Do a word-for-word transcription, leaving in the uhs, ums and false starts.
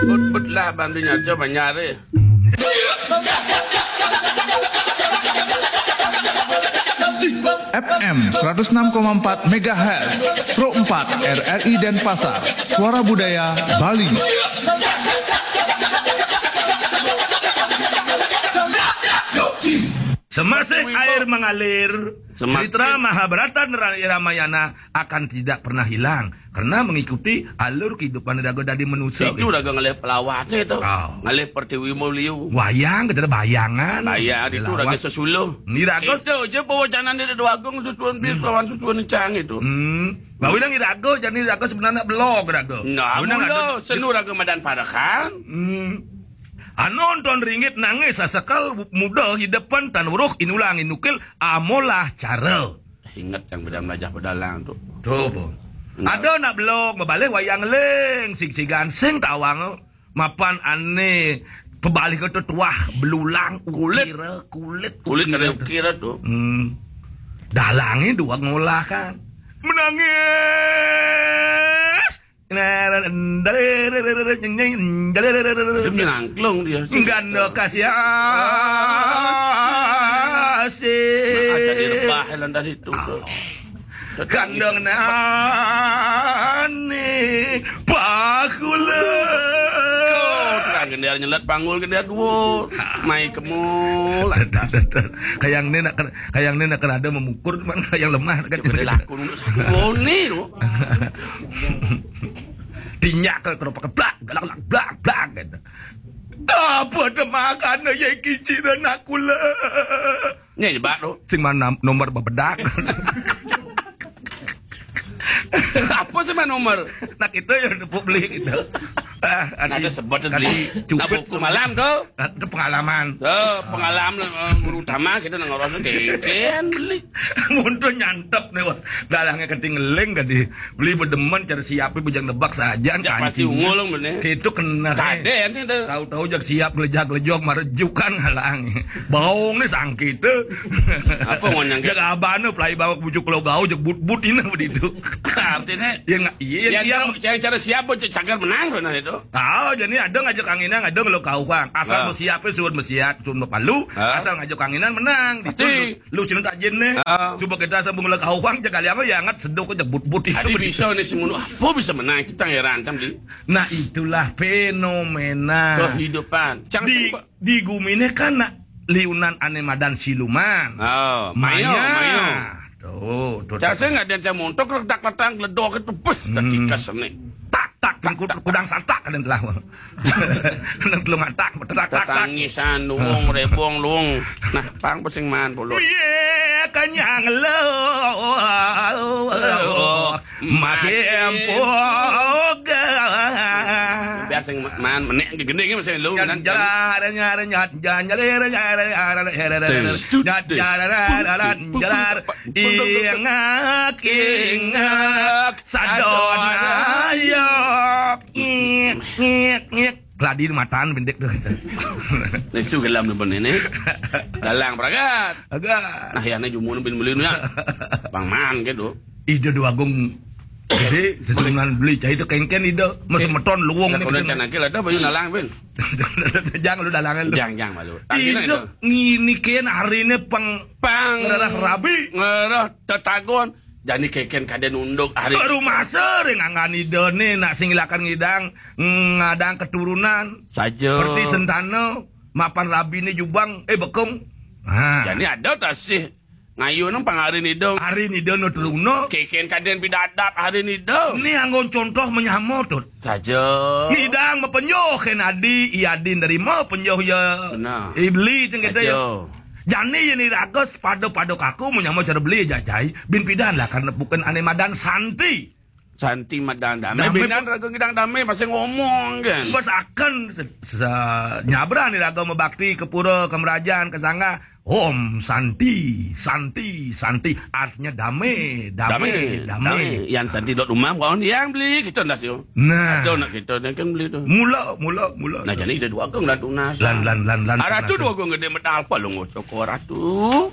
Put-put lah bantu nyarca manyare. F M seratus enam koma empat megahertz, Pro empat R R I Denpasar, Suara Budaya Bali. Semasih air mengalir, cerita Mahabharata dan Ramayana akan tidak pernah hilang karena mengikuti alur kehidupan raga dadi manusia. Itu raga ngalih pelawatnya itu. Oh. Ngalih pertiwi mau liu. Wayang, kata bayangan. Bayang itu raga sesuluh. Ni raga. Itu aja pewacanan dia dua agung susuan bir lawan susuan cang itu. Hmm. Bawi nang iraga, jani iraga sebenarnya belog raga. Nah, mula senu raga madan parekan. Hmm. Anu nonton ringgit nangis sasekal muda hidepan tan uruh inulang inukil amolah cara. Ingat yang beda melajah pedalang tu. Tu apa? Ada nak belog mabalih wayang ling sing sigan sing tawang mapan ane pebalih kata tuah belulang kulit kulit kulit ada ukira tu. Hmm. Dalangnya dua ngolah kan menangis. Dia menyangklung dia. Ganda kasih asih. Nah, jadi rebah lantas itu. Kandang nani pakula. Kau tukang gender nyelat panggul gender dua. Mai kemul. Kayang ni nak kena, kayang ni nak kena ada memukul mana kayang lemah kan. Boleh laku untuk satu ni tu. Tinjak ke keropak blak galak blak blak blak gitu. Apa temakan ya kici dan aku lah. Ni jebak tu. Sing mana nomor bebedak. Apa sih mana nomor? Nak kita yang tepuk beli kita. Ah, ada sebut beli. Cukup malam tu. Itu pengalaman. So, pengalaman eh, guru utama kita nang ngurus kengken beli. Mundur nyantep nih wah. Dalangnya keting ngeling tadi. Beli bedemen cara siapnya bujang nebak saja. Ya, pasti ungul bener. Itu kena. Kaden itu. Tahu-tahu jak siap gelejak-gelejok marejukan ngalang. Baung nih sangkit. Apa ngonyang? Jak abah nu pelai bawa bujuk lo gau jak but-but ini begitu. Artinya ya nggak iya yang siap. Yang cara siap bocah cagar menang benar itu. Ah, jadi ada ngajak anginan, ada ngelok kauhang. Asal bersiap, suruh bersiap, suruh berpalu. Asal ngajak anginan menang. Pasti. Lu sini tajin nih. Coba kita asal mengelok kauhang, jaga liang ya angat sedok aja but-but itu. Tadi bisa nih si mulu. Apa bisa menang? Kita heran kan beli. Nah itulah fenomena kehidupan. Cang di, di gumi ini kan nak liunan ane madan siluman. Oh, mayo, mayo. Tuh, tuh. Saya nggak ada yang montok letak-letak ledok itu. Beuh, tak tikas nih. Tak tak kudang santak kan telah. Nang telung atak beterak tak tak. Tangisan luung rebong luung. Nah, pang pesing man pulut. Iya kanyang lo. Mati empuk. Biar sing man menek gending masih lu kan. Jalar nyar nyat janjalir nyar nyar nyat jalar jalar ingak ingak sadona yo. Ngik ngik ngik. Gladi matan bintik tu. Nesu gelam tu pun ini. Dalang pragat. Agak. Nah, ya ne jumun bin melin ya. Bang man gitu. Ida dua agung. Jadi sesunan beli cai tu kengken ida. Mas meton luwung ni. Kalau can akil ada bayu nalang bin. Jangan lu dalangan lu. Jangan jangan malu. Ida ngini ken hari ni pang pang ngerah rabi. Ngerah tetagon. Jani keken kaden unduk hari. Baru masa ring anggan ida ni nak sing ilakan ngidang ngadang keturunan. Saja. Seperti sentana mapan rabi ni jubang eh bekung. Ha. Jani ada tasih ngayu nang pang hari ni dong. Hari ni dong teruna. Keken kaden pidadap hari ni dong. Ni anggon contoh menyama tu. Saja. Ngidang mapenyoh ken adi, iya adi nerima penyoh ya. Benar. Ibli teng kita ya. Jani ini raga sepada-pada kaku menyama cara beli jajai bin pidan lah karena bukan ane madan santi. Santi madan dame. Dame. Binan raga ngidang dame masih ngomong kan. Bos akan se- se- nyabra ni raga mebakti ke pura ke merajaan ke sangga. Om santi santi santi artinya dame dame dame. Yang santi dot rumah kawan yang beli kita ndas yo. Nah. Ada nak kita ni kan beli tu. Mula mula mula. Nah jadi dia dua agung dan tunas. Lan lan lan lan. Aratu dua agung gede medal apa lu ngocok aratu.